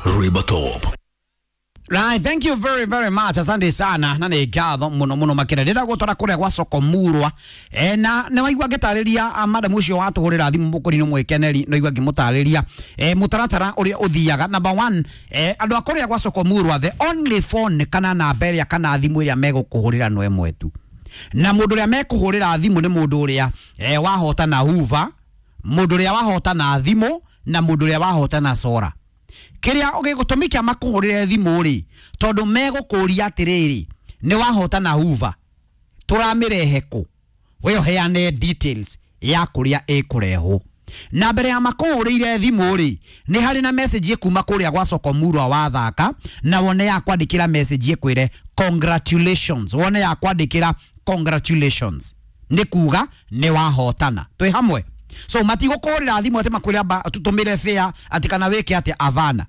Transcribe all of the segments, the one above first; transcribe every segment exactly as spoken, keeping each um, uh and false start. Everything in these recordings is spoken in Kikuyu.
Ribatop. Right, thank you very very much. Asante sana na nä ngatho må no må no makä ndä gå twara kå rä a gwa soko murwa e, na nä waigua ngä tarä ria madam å cio watå hå rä ra thimå må kå ri-inä mwä keneri no igua ngä må tarä ria e, må taratara å rä a å thiaga. Number one, e, andå a kå rä a gwa soko murwa, the only phone kana namba ä rä a kana thimå ä rä a megå kå hå rä ra no ĩmwe tu, na må ndå å rä a mekå hå rä ra thimå nä må ndå å rä a e, wahotana huva, må ndå å rä a wahotana thimå na må ndå å rä a wahotana sora. Kiria gĩgũtũmi kĩa makũhũrĩre thimũ rĩ, tondũ megũkũria atĩrĩrĩ, nĩ wahotana huva, tũramĩrehe kũ? We ũheane details ya kũrĩa ĩkũrehwo. Na mbere ya makũhũrĩire thimũ rĩ, nĩ harĩ na message ĩkuma kũrĩa gwa soko murwa wathaka, na wone ya kwandĩkĩra message ĩkwĩre congratulations, wone ya kwandĩkĩra congratulations, nĩ kuga nĩ wahotana. Twĩ hamwe? So matigũkũhũrĩra thimũ atĩ makwĩre amba tũtũmĩre fare atĩ kana wĩke atĩ, avana.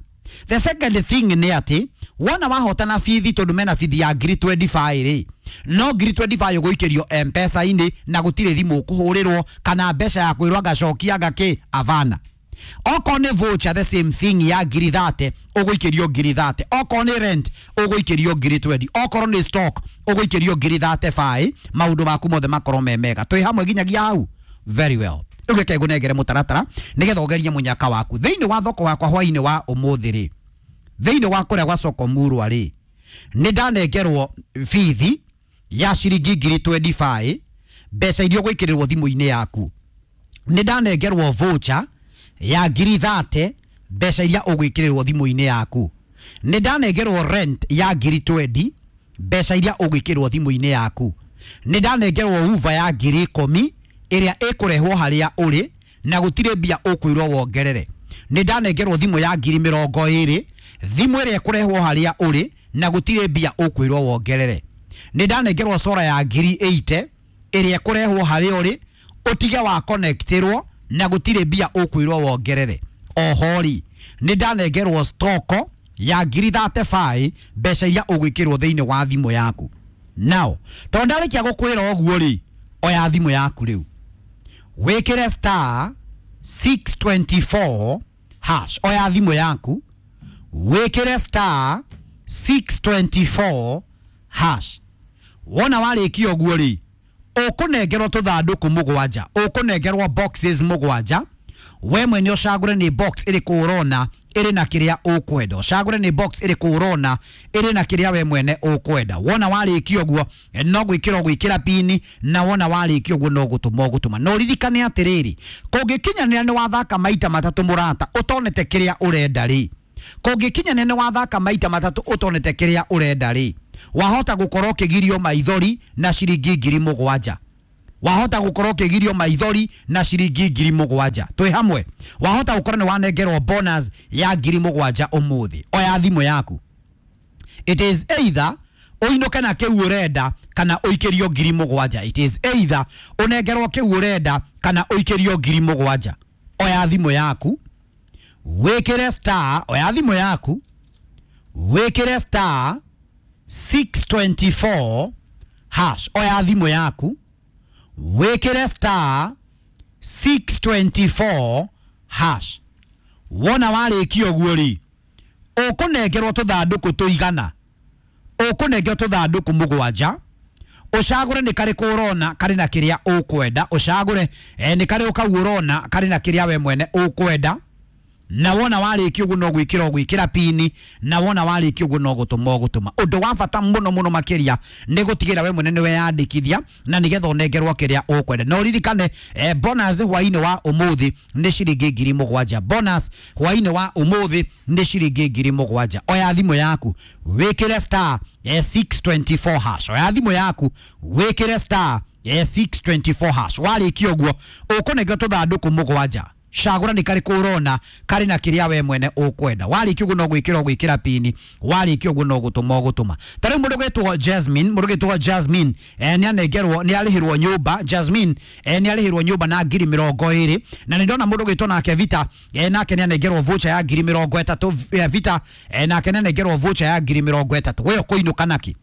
The second thing nĩ atĩ wona wahotana bithi, tondũ mena bithi ya ngiri mĩrongo ĩrĩ na ithano rĩ, no ngiri mĩrongo ĩrĩ na ithano ũgũikĩrio M-Pesa-inĩ na gũtirĩ thimũ ũkũhũrĩrwo kana mbeca ya kwĩrwo ngacokia ngakĩ, avana. Okorwo nĩ voucher, the same thing, ya ngiri thate ũgũikĩrio ngiri thate. Okorwo nĩ rent ũgũikĩrio ngiri mĩrongo ĩrĩ. Okorwo nĩ stock ũgũikĩrio ngiri thate baĩ. Maũndũ maku mothe makorwo me mega. Twĩ hamwe nginyagia hau? Very well. Rĩu reke ngũnengere mũtaratara nĩgetha ũgerie mũnyaka waku thĩinĩ wa thoko wakwa hwainĩ wa ũmũthĩ rĩ. Thĩinĩ wa kũrĩa gwa soko murwa rĩ, nĩ ndanengerwo bithi ya ciringi ngiri mĩrongo ĩrĩ na ithano, mbeca iria ũgwĩkĩrĩrwo thimũ-inĩ yaku. Nĩ ndanengerwo voucher ya ngiri thate, mbeca iria ũgwĩkĩrĩrwo thimũ-inĩ yaku. Nĩ ndanengerwo rent ya ngiri mĩrongo ĩrĩ, mbeca iria ũgwĩkĩrwo thimũ-inĩ yaku. Nĩ ndanengerwo uva ya ngiri ikũmi ĩrĩa ĩkũrehwo harĩa ũrĩ na gũtirĩ mbia ũkwĩrwo wongerere. Nĩ ndanengerwo thimũ ya ngiri mĩrongo ĩrĩ, thimũ ĩrĩa ĩkũrehwo harĩa ũrĩ na gũtirĩ mbia ũkwĩrwo wongerere. Nĩ ndanengerwo sora ya ngiri mĩrongo ĩnane ĩrĩa ĩkũrehwo harĩa ũrĩ ũtige wa connectirwo na gũtirĩ mbia ũkwĩrwo wongerere. Oho rĩ, nĩ ndanengerwo stoko ya ngiri thate baĩ, mbeca iria ũgwĩkĩrwo thĩinĩ wa thimũ yaku. Now tondũ ndarĩkia gũkwĩra ũguo rĩ, oya thimũ yaku rĩu wĩkĩre star six two four hash. Oya thimũ yaku wĩkĩre star six two four hash. Wona warĩkia ũguo rĩ, ũkũnengerwo tũthandũkũ mũgwanja, ũkũnengerwo boxes mũgwanja. We mwene ũcagũre nĩ box ĩrĩkũ ũrona ĩrĩ na kĩrĩa ũkwenda, ũcagũre nĩ box ĩrĩkũ ũrona ĩrĩ na kĩrĩa we mwene ũkwenda. Wona warĩkia ũguo no gwĩkĩra ũgwĩkĩra pini, na wona warĩkia ũguo no gũtũma ũgũtũma. Na ũririkane atĩrĩrĩ, kũngĩkinyanĩra nĩ wathaka maita matatũ mũrata ũtonete kĩrĩa ũrenda rĩ, kũngĩkinyanĩra nĩ wathaka maita matatũ ũtonete kĩrĩa ũrenda rĩ, wahota gũkorwo ũkĩgirio maithori na ciringi ngiri mũgwanja. Wahota gũkorwo ũkĩgirio maithori na ciringi ngiri mũgwanja. Twĩ hamwe? Wahota gũkorwo nĩ wanengerwo bonus ya ngiri mũgwanja ũmũthĩ. Oya thimũ yaku, it is either ũinũke na kĩu ũrenda kana ũikĩrio ngiri mũgwanja. It is either ũnengerwo kĩu ũrenda kana ũikĩrio ngiri mũgwanja. Oya thimũ yaku wĩkĩre star, oya thimũ yaku wĩkĩre star six two four hash. Oya thimũ yaku wĩkĩre star six two four hash. Wona warĩkia ũguo rĩ, ũkũnengerwo tũthandũkũ tũigana, ũkũnengerwo tũthandũkũ mũgwanja, ũcagũre nĩ karĩkũ ũrona karĩ na kĩrĩa ũkwenda, ũcagũre eh, nĩ karĩkũ kau ũrona karĩ na kĩrĩa we mwene ũkwenda. Na wona warĩkia ũguo no gwĩkĩra ũgwĩkĩra pini, na wona warĩkia ũguo no gũtũma ũgũtũma. Ũndũ wa bata mũno mũno makĩria nĩ gũtigĩra we mwene nĩ weyandĩkithia na nĩgetha ũnengerwo kĩrĩa ũkwenda. Na ũririkane eh, bonus hwainĩ wa ũmũthĩ nĩ ciringi ngiri mũgwanja. Bonus hwainĩ wa ũmũthĩ nĩ ciringi ngiri mũgwanja. Oya thimũ yaku wĩkĩre star eh, six two four hash. Oya thimũ yaku wĩkĩre star eh, six two four hash. Warĩkia ũguo ũkũnengerwo tũthandũkũ mũgwanja, cagũra nĩ karĩkũ ũrona karĩ na kĩrĩa we mwene ũkwenda. Warĩkia ũguo no gwĩkĩra ũgwĩkĩra pini, warĩkia ũguo no gũtũma ũgũtũma. Ta rĩu mũndũ gwĩtwo Jasmine, mũndũ gwĩtwo Jasmine eh, nĩ anengerwo, nĩ arĩhĩrwo nyũmba. Jasmine eh, nĩ arĩhĩrwo nyũmba na ngiri mĩrongo ĩrĩ. Na nĩ ndona mũndũ gwĩtwo nake Vita, eh, nake nĩ anengerwo voucher ya ngiri mĩrongo ĩtatũ. eh, Vita eh, nake nĩ anengerwo voucher ya ngiri mĩrongo ĩtatũ. We ũkũinũka naki?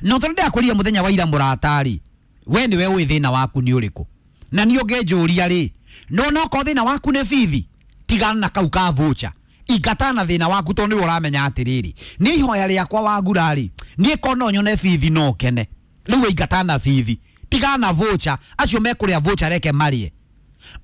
No tondũ ndĩrakwĩrire mũthenya wa ira mũratari, we nĩwe ũĩ thĩna waku nĩ ũrĩkũ. Na niĩ ũngĩnjũria rĩ, no no korwo thĩna waku nĩ bithi, tigana na kau ka voucher. Ingatana na thĩna waku tondũ nĩwe ũramenya atĩrĩrĩ, nĩ ihoya rĩakwa wagurari niĩ ko no nyone bithi no kene. Rĩu ingatana na bithi, tigana voucher, acio mekũrĩa voucher reke marĩe.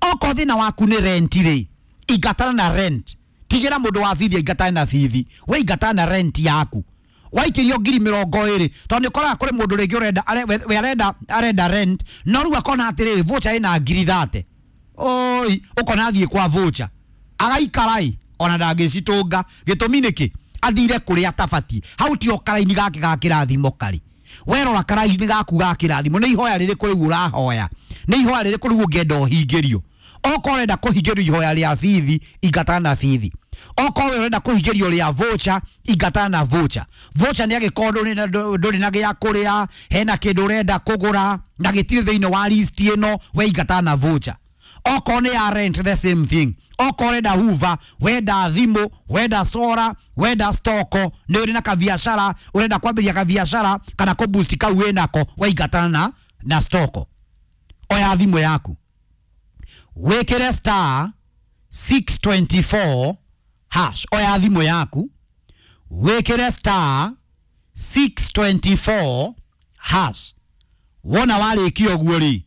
Okorwo thĩna waku nĩ rent rĩ, ingatana na rent, tigĩra mũndũ wa bithi ingatana na bithi, we ingatana na rent yaku. Waikĩrio ngiri mĩrongo ĩrĩ tondũ nĩ ũkoraga kũrĩ mũndũ rĩngĩ ũrenda we arenda arenda rent no rĩu akona atĩrĩrĩ voucher ĩna ngiri thate, oi ũkona athiĩ kwa voucher agaikarai ona ndangĩcitũnga. Gĩtũmi nĩkĩ? Athire kũrĩa atabatiĩ. Hau tio karaini gake ga kĩrathimo karĩ. Werora karaini gaku ga kĩrathimo nĩ ihoya rĩrĩkũ rĩu ũrahoya, nĩ ihoya rĩrĩkũ rĩu ũngĩenda ũhingĩrio. Okorwo ũrenda kũhingĩrio ihoya rĩa bithi, ingatana na bithi. Okorwo ũrenda kũhingĩrio rĩa voucher, ingatana na voucher. Voucher nĩ angĩkorwo ndũrĩ na gĩa kũrĩa, hena kĩndũ ũrenda kũgũra na gĩtirĩ thĩinĩ wa list ĩno, we ingatana na voucher. Okorwo nĩ ya rent, the same thing. Okorwo ũrenda hoover, wenda thimũ, wenda sora, wenda stoko, nĩ ũrĩ na kabiacara, ũrenda kwambĩrĩria kabiacara kana kũ boost kau wĩnako, we ingatana na na stoko. Oya thimũ yaku wĩkĩre star six twenty-four hash. Oya thimũ yaku wĩkĩre star six twenty-four hash. Wona warĩkia ũguo rĩ,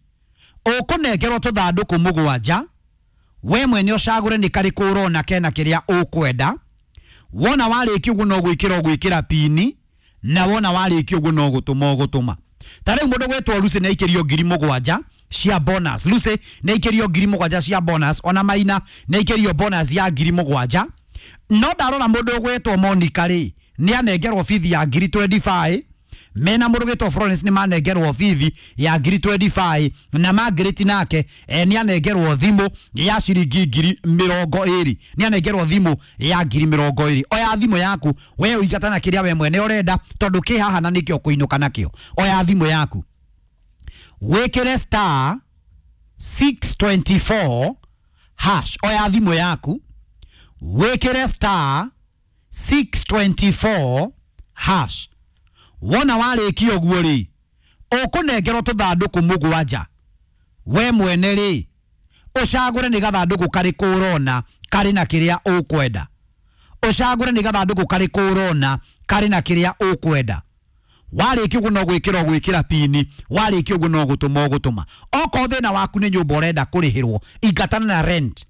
ũkũnengerwo tũthandũkũ mũgwanja, we mwene ũcagũre nĩ karĩkũ ũrona kena kĩrĩa ũkwenda. Wona warĩkia ũguo no gwĩkĩra ũgwĩkĩra pini, na wona warĩkia ũguo no gũtũma ũgũtũma. Ta rĩu mũndũ gwĩtwo Lucy nĩ aikĩrio ngiri mũgwanja cia bonus. Lucy nĩ aikĩrio ngiri mũgwanja cia bonus, ona Maina nĩ aikĩrio bonus ya ngiri mũgwanja. No ndarora mũndũ ũgwĩtwo Monica rĩ, nĩ anengerwo bithi ya ngiri twenty-five. Mena mũndũ ũgwĩtwo Florence nĩ manengerwo bithi ya ngiri twenty-five, na Margaret nake eh, nĩ anengerwo thimũ ya ciringi ngiri mĩrongo ĩrĩ. Nĩ anengerwo thimũ ya ngiri mĩrongo ĩrĩ. Oya thimũ yaku we ũingatana kĩrĩa we mwene ũrenda, tondũ kĩ haha na nĩkĩo kũinũka nakĩo. Oya thimũ yaku wĩkĩre star six twenty-four hash. Oya thimũ yaku wĩkĩre star six twenty-four hash. Wona warĩkia ũguo rĩ, ũkũnengerwo tũthandũkũ mũgwanja, we mwene rĩ ũcagũre nĩ gathandũkũ karĩkũ ũrona karĩ na kĩrĩa ũkwenda. Ũcagũre nĩ gathandũkũ karĩkũ ũrona karĩ na kĩrĩa ũkwenda. Warĩkia ũguo no gwĩkĩra ũgwĩkĩra pini, warĩkia ũguo no gũtũma ũgũtũma. Okorwo thĩna waku nĩ nyũmba ũrenda kũrĩhĩrwo, ingatana na rent.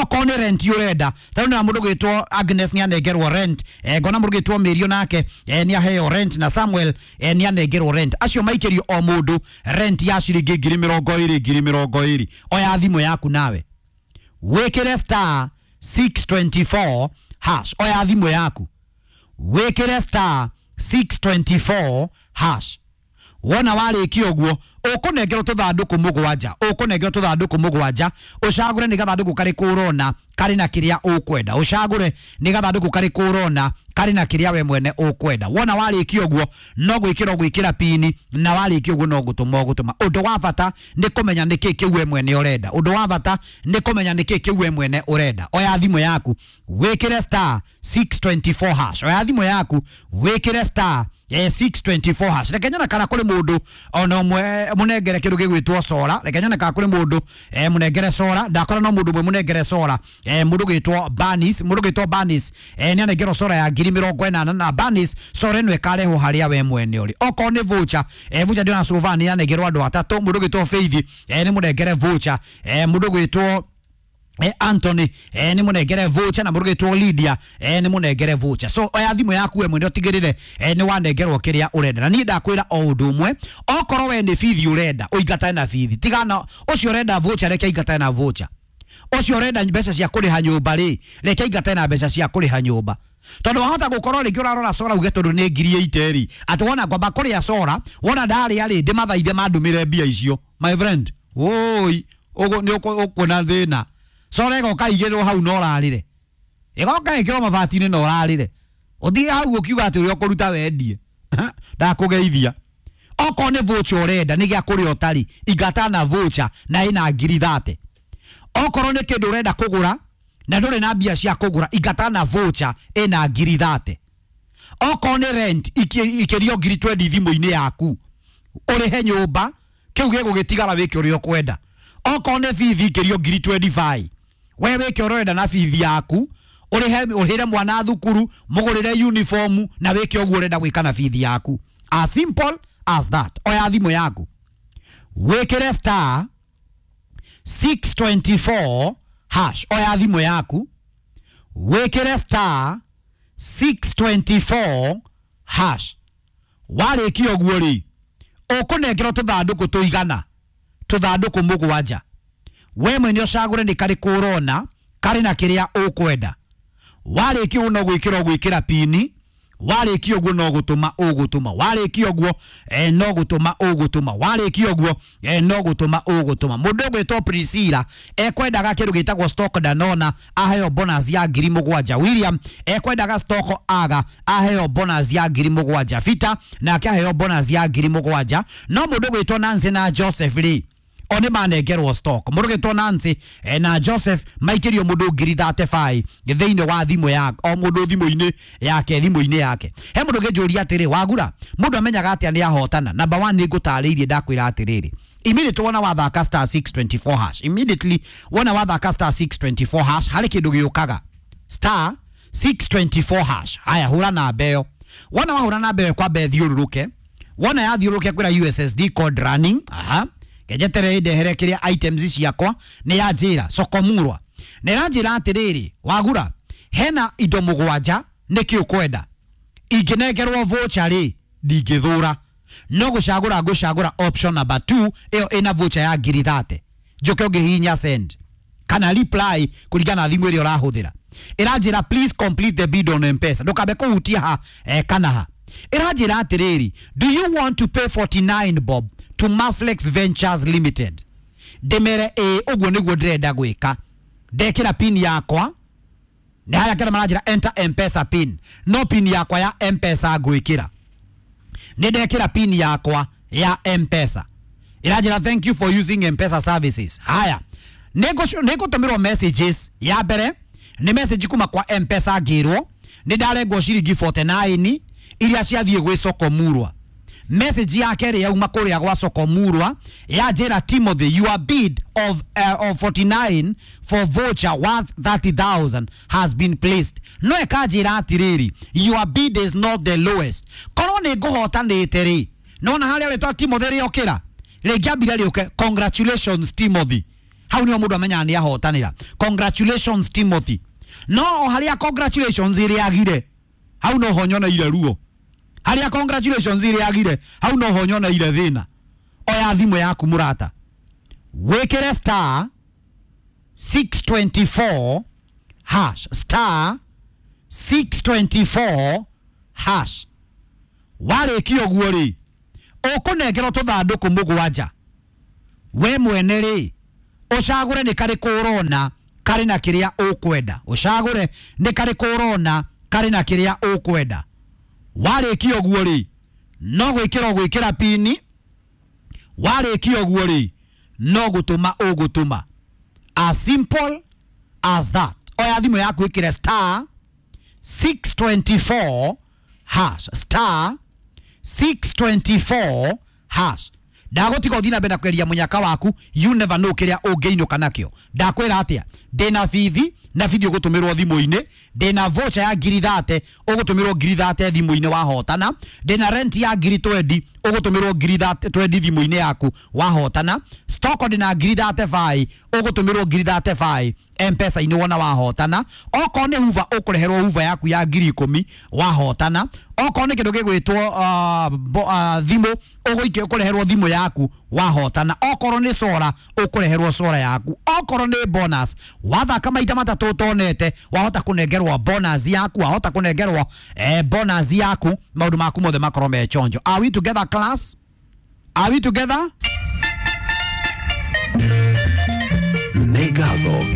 Okorwo nĩ rent ũrenda, ta rĩu na mũndũ gwĩtwo Agnes nĩ anengerwo rent, eh, ngona mũndũ gwĩtwo Mĩrio nake eh, nĩ aheo rent, na Samuel eh, nĩ anengerwo rent. Acio maikĩrio o mũndũ rent ya ciringi ngiri mĩrongo ĩrĩ ngiri mĩrongo ĩrĩ. Oya thimũ yaku nawe wĩkĩre star six twenty-four hash. Oya thimũ yaku wĩkĩre star six twenty-four hash. Wona warĩkia ũguo ũkũnengerwo tũthandũkũ mũgwanja, ũkũnengerwo tũthandũkũ mũgwanja, ũcagũre nĩ gathandũkũ karĩkũ ũrona karĩ na kĩrĩa ũkwenda. Ũcagũre nĩ gathandũkũ karĩkũ ũrona karĩ na kĩrĩa we mwene ũkwenda. Wona warĩkia ũguo no gwĩkĩra ũgwĩkĩra pini, na warĩkia ũguo no gũtũma ũgũtũma. Ũndũ wa bata nĩ kũmenya nĩkĩ kĩu we mwene ũrenda. Ũndũ wa bata nĩ kũmenya nĩkĩ kĩu we mwene ũrenda. Oya thimũ yaku wĩkĩre star six twenty-four hash. Oya thimũ yaku wĩkĩre star eh, six twenty-four hash. Reke nyone kana kũrĩ mũndũ ona ũmwe mũnengere kĩndũ gĩgwĩtwo sora. Reke nyone kana kũrĩ mũndũ eh, mũnengere sora. Ndakora no mũndũ ũmwe mũnengere sora, eh, mũndũ gwĩtwo Banis, mũndũ gwĩtwo Banis eh, nĩ anengerwo sora ya ngiri mĩrongo ĩnana, na Banis sora ĩno ĩkarehwo harĩa we mwene ũrĩ. Okorwo nĩ voucher, eh, voucher ndĩona Sylvan nĩ anengerwo andũ atatũ. Mũndũ gwĩtwo Faith eh, nĩ mũnengere voucher, eh, mũndũ gwĩtwo Eh, Anthony eh, nĩ mũnengere voucher, na mũndũ gwĩtwo Lydia eh, nĩ mũnengere voucher. So oya thimũ yaku we mwene ũtigĩrĩre eh, nĩ wanengerwo kĩrĩa ũrenda. Na niĩ ndakwĩra o ũndũ ũmwe, okorwo we nĩ bithi ũrenda ũingatane na bithi, tigana ũcio ũrenda voucher, reke aingatane na voucher. Ũcio ũrenda mbeca cia kũrĩha nyũmba rĩ, reke aingatane na mbeca cia kũrĩha nyũmba. Tondũ wahota gũkorwo rĩngĩ ũrarora sora uge tondũ nĩ ngiri eight rĩ, atĩ wona ngwamba kũrĩa sora, wona ndarĩa rĩ, ndĩmathaithe mandũmĩre mbia icio. My friend, woi, ũguo nĩ ũkuona thĩna. Sora ĩgoka igĩrwo hau no ũrarĩre, ĩgoka ĩkĩrwo mabati-inĩ na ũrarĩre, ũthiĩ hau ũkiuga atĩ ũrĩa ũkũruta wendie. Ndakũgeithia. Okorwo nĩ voucher ũrenda nĩ gĩa kũrĩa ũtarĩ, ingatana na voucher na ĩna ngiri thate. Okorwo nĩ kĩndũ ũrenda kũgũra na ndũrĩ na mbia cia kũgũra, ingatana na voucher ĩna ngiri thate. Okorwo nĩ rent ikĩrio ngiri twenty thimũ-inĩ yaku ũrĩhe nyũmba, kĩu gĩgũgĩtigara wĩke ũrĩa ũkwenda. Okorwo nĩ bithi ikĩrio ngiri twenty-five, we wĩke ũrĩa ũrenda na bithi yaku, Ũrĩhe ũrĩhĩre mwana thukuru, mũgũrĩre uniform na wĩke ũguo ũrenda gwĩka na bithi yaku. As simple as that. Oya thimũ yaku, wĩkĩre star six twenty-four hash. Oya thimũ yaku, wĩkĩre star six twenty-four hash. Warĩkia ũguo rĩ, ũkũnengerwo tũthandũkũ tũigana, tũthandũkũ mũgwanja. We mwene ũcagũre nĩ karĩkũ ũrona karĩ na kĩrĩa ũkwenda. Warĩkia ũguo no gwĩkĩra ũgwĩkĩra pini, warĩkia ũguo no gũtũma ũgũtũma, warĩkia ũguo eh, no gũtũma ũgũtũma, warĩkia ũguo eh, no gũtũma ũgũtũma. Mũndũ ũgwĩtwo Priscilla ekwendaga kĩndũ gĩtagwo stock Danona aheo bonus ya ngiri mũgwanja. William ekwendaga stock aga aheo bonus ya ngiri mũgwanja. Fita nake aheo bonus ya ngiri mũgwanja. No mũndũ ũgwĩtwo Nancy na Joseph rĩ, o nĩ manengerwo stock. Mũndũ ũgwĩtwo Nancy eh, na Joseph maikĩrio mũndũ ngiri thirty-five thĩinĩ wa thimũ ya o mũndũ thimũ-inĩ yake, thimũ-inĩ yake. He mũndũ ũngĩnjũria atĩrĩ, Wagura, mũndũ amenyaga atĩa nĩ ahotana? Number one, nĩ ngũtarĩirie ndakwĩra atĩrĩrĩ, immediately wona wathaka star six twenty-four hash, immediately wona wathaka star six twenty-four hash, harĩ kĩndũ gĩũkaga star six twenty-four hash. Haya, hũra namba ĩyo. Wona wahũra namba ĩyo kwamba ĩthiũrũrũke. Wona yathiũrũrũke kwĩra U S S D code running. Aha, ngejetere ndehere kĩrĩa items ciakwa nĩ yanjĩra Sokomurwa. Nĩ ĩranjĩra atĩrĩrĩ, Wagura, hena indo mũgwanja nĩkĩ ũkwenda. Ingĩnengerwo voucher rĩ, ndingĩthũra, no gũcagũra ngũcagũra option number two, ĩyo ĩna voucher ya ngiri thate. Njoke ũngĩhihinya send kana reply kũringana na thimũ ĩrĩa ũrahũthĩra. Ĩranjĩra please complete the bid on M-Pesa. Ndũkambe kũhutia ha eh, kana ha. Ĩranjĩra atĩrĩrĩ, do you want to pay forty-nine bob to Maflex Ventures Limited? Ndĩmere ĩ, ũguo nĩguo ndĩrenda gwĩka. Ndekĩra pin yakwa, nĩ harĩa kĩrĩa maranjĩra enter M-Pesa pin, no pin yakwa ya M-Pesa ngwĩkĩra. Nĩ ndekĩra pin yakwa ya M-Pesa. Ĩranjĩra thank you for using M-Pesa services. Haya, nĩngũtũmĩrwo messages. Ya mbere nĩ message kuma kwa M-Pesa ngĩrwo nĩ ndarengwo ciringi forty-nine iria ciathiĩ gwĩ Sokomurwa. Message ya kerĩ yauma kũrĩa gwa Sokomurwa yanjĩra Timothy, your bid of, uh, of forty-nine for voucher worth thirty thousand has been placed. No ĩkanjĩra atĩrĩrĩ, your bid is not the lowest. Korwo nĩ ngũhotanĩte rĩ, nona harĩa wĩtwa Timothy rĩokĩra rĩngĩambire rĩũke congratulations Timothy. Hau nĩho mũndũ amenyaga nĩ ahotanĩra. Congratulations Timothy. No o harĩa congratulations ĩrĩagire, hau no ho nyoneire ruo. Harĩa congratulations ĩrĩagire, hau no ho nyoneire thĩna. Oya thimũ yaku mũrata, wĩkĩre star six twenty-four hash, star six twenty-four hash. Warĩkia ũguo rĩ, ũkũnengerwo tũthandũkũ mũgwanja. We mwene rĩ, ũcagũre nĩ karĩkũ ũrona karĩ na kĩrĩa ũkwenda. Ũcagũre nĩ karĩkũ ũrona karĩ na kĩrĩa ũkwenda. Warĩkia ũguo rĩ, no gwĩkĩra ũgwĩkĩra pini. Warĩkia ũguo rĩ, no gũtũma ũgũtũma. As simple as that. Oya thimũ yaku ĩkĩre star six twenty-four hash, star six twenty-four hash. Ndagũtiga ũthiĩ na mbere na kweria mũnyaka waku, you never know kĩrĩa ũngĩinũka nakĩo. Ndakwĩra atĩa, ndĩna bithi na bithi ũgũtũmĩrwo thimũ-inĩ, ndĩna voucher ya ngiri thate ũgũtũmĩrwo ngiri thate thimũ-inĩ wahotana, ndĩna rent ya ngiri twenty ũgũtũmĩrwo ngiri twenty thimũ-inĩ yaku wahotana, stock ndĩna ngiri thirty-five ũgũtũmĩrwo ngiri thirty-five M-Pesa-inĩ wona wahotana, okorwo nĩ huva ũkũreherwo huva yaku ya ngiri ikũmi wahotana, okorwo nĩ kĩndũ gĩgwĩtwo uh, thimũ ũgũikio ũkũreherwo thimũ yaku wahotana, okorwo nĩ sora ũkũreherwo sora yaku, okorwo nĩ bonus wathaka maita matatũ ũtonete wahota kũnengerwo bonus yaku, wahota kũnengerwo eh, bonus yaku, maũndũ maku mothe makorwo me chonjo. Are we together class? Are we together? Negado.